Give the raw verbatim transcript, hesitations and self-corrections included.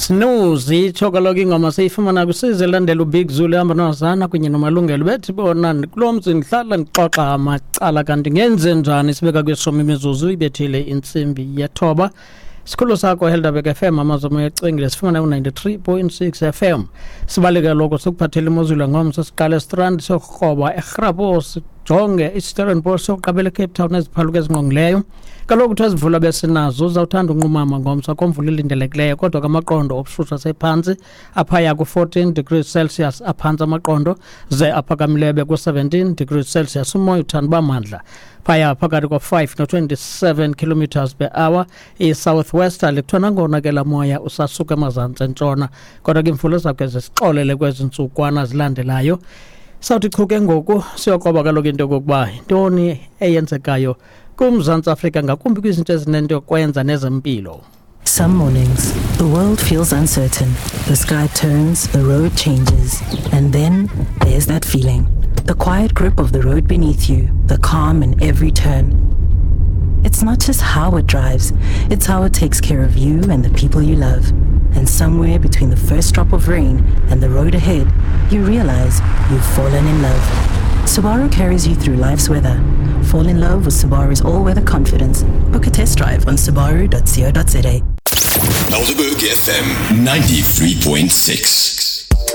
Snooze itsho kaloku ingoma siyifumana kwisize elandela uBig Zulu ehamba nozana kunye noMalungelo. Bethi bona kulo mzi ndihlala ndixoxa amacala, kanti ngenze njani? Sibeka kweshumi imizuzu ibethile intsimbi yethoba. Sikhulu sakho Helderberg F M, amazomo yecingile sifumana ku-ninety-three point six F M. Sibaleke loko sikuphathele imozulu ngomso, siqale eStrand siyokroba eGrabos, sijonge iStellenbosch, siyoqabela eCape Town neziphaluka ezingqongileyo. Kaloku kuthiwa ezimvula besinazo uzawuthanda unqumama ngomso, akho mvula ilindelekileyo, kodwa ke amaqondo obushushu asephantsi aphaya ku-fourteen degrees Celsius aphantsi amaqondo, ze aphakamileyo beku-seventeen degrees Celsius. Umoya uthanda uba mandla phaya phakathi kwa-five no-twenty-seven kilometers per hour. I-southwesterly kuthiwa nangona ke laa moya usasuka emazantsi entshona, kodwa ke imvula izawukhe zisixolele kwezi ntsukwana zilandelayo. Sawuthi chu ke ngoku siyokroba kaloku into yokokuba yintoni eyenzekayo kuMzantsi Afrika, ngakumbi kwizinto ezinento yokwenza nezempilo. Some mornings, the world feels uncertain. The sky turns, the road changes, and then there's that feeling. The quiet grip of the road beneath you, the calm in every turn. It's not just how it drives, it's how it takes care of you and the people you love. And somewhere between the first drop of rain and the road ahead, you realize you've fallen in love. Subaru carries you through life's weather. Fall in love with Subaru's all-weather confidence. Book a test drive on subaru dot co dot za. Helderberg F M ninety-three point six.